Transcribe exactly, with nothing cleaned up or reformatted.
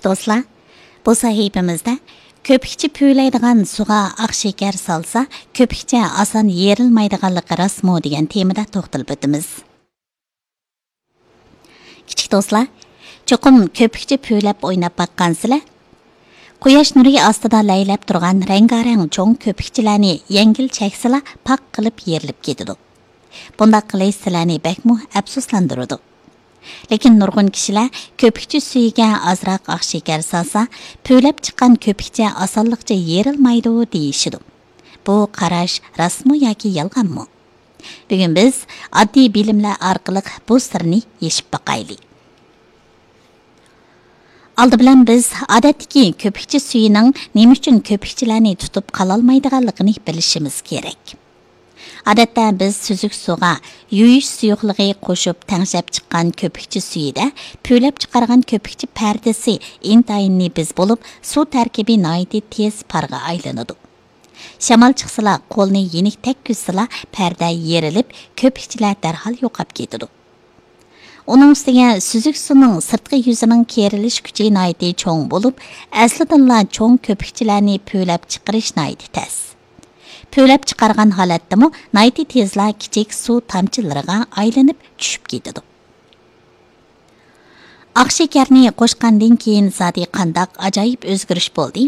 دوستلار، بۇ سەھىپىمىزدە كۆپۈكچە پۈۋلەيدىغان سۇغا ئاق شېكەر سالسا، كۆپۈكچە ئاسان يېرىلمايدىغانلىقى راستمۇ دېگەن تېمىدا توختىلىپ ئۆتىمىز. كىچىك دوستلار، چوقۇم كۆپۈكچە پۈۋلەپ ئويناپ باققانسىلەر؟ قۇياش نۇرى ئاستىدا لەيلەپ تۇرغان رەڭگارەڭ چوڭ كۆپۈكچىلەرنى يەڭگىل چەكسىلا، پاق قىلىپ يېرىلىپ كېتىدۇ. بۇنداق قىلىش سىلەرنى بەكمۇ ئەپسۇسلاندۇرىدۇ. لېكىن نۇرغۇن كىشىلەر كۆپۈكچە سۈيىگە ئازراق ئاق شېكەر سالسا، پۈۋلەپ چىققان كۆپۈكچە ئاسانلىقچە يېرىلمايدۇ دېيىشىدۇ. بۇ قاراش راستمۇ ياكى يالغانمۇ؟ بۈگۈن بىز ئاددىي بىلىملەر ئارقىلىق بۇ سىرنى يېشىپ باقايلى. ئالدى بىلەن بىز ئادەتتىكى كۆپۈكچە سۈيىنىڭ نېمە ئۈچۈن كۆپۈكچىلەرنى تۇتۇپ قالالمايدىغانلىقىنى بىلىشىمىز كېرەك. ئادەتتە بىز سۈزۈك سۇغا يۇيۇش سۇيۇقلۇقى قوشۇپ تەڭشەپ چىققان كۆپۈكچە سۈيىدە پۈۋلەپ چىقارغان كۆپۈكچە پەردىسى ئىنتايىن نېپىز بولۇپ، سۇ تەركىبى ناھايىتى تېز پارغا ئايلىنىدۇ. شامال چىقسىلا، قولنى يېنىك تەگكۈزسىلا، پەردە يېرىلىپ، كۆپۈكچىلەر دەرھال يوقاپ كېتىدۇ. ئۇنىڭ ئۈستىگە سۈزۈك سۇنىڭ سىرتقى يۈزىنىڭ كېرىلىش كۈچى ناھايىتى چوڭ بولۇپ، ئەسلىدىنلا چوڭ كۆپۈكچىلەرنى پۈۋلەپ چىقىرىش ناھايىتى تەس. پۈۋلەپ چىقارغان ھالەتتىمۇ ناھايىتى تېزلا كىچىك سۇ تامچىلىرىغا ئايلىنىپ چۈشۈپ كېتىدۇ. ئاق شېكەرنى قوشقاندىن كېيىن زادى قانداق ئاجايىپ ئۆزگىرىش بولدى؟